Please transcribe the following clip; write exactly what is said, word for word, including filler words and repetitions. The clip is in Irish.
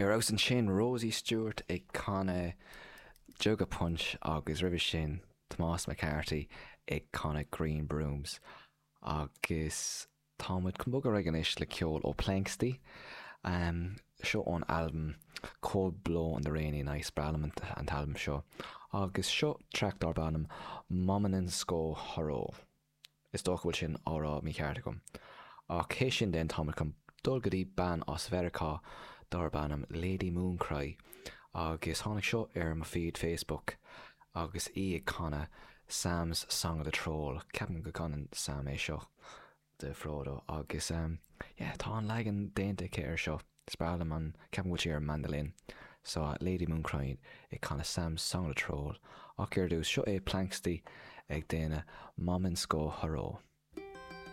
Ar fheabhas ansin Rosie Stewart ag canadh Jug of Punch agus roimhe sin Tomás McCarthy ag canadh Green Brooms. Agus táimid chun bogadh ar aghaidh anois le ceol ó Planxty. Um, seo ón albam Cold Blow on the Rainy Night is breá liom an an t-albam seo. Agus seo track darb ainm Mommenensko Horo. Is dócha go bhfuil sin á rá mícheart agam. Ach théis sin den táimid chun dul go dtí bean as Mheiriceá darb ainm Lady Mooncry agus tháinig seo ar mo feed Facebook agus í ag canadh Sam's Song of the Troll. Ceapaim go gcanann Sam é seo de Frodo agus um, yeah, tá an leagan déanta aici ar seo. Is breá liom an ceapaim go bhfuil sí ar mandolin. So uh, Lady Mooncry ag canadh Sam's Song of the Troll. Ach ar dtús seo é Planxty ag déanamh Mommensko Horo.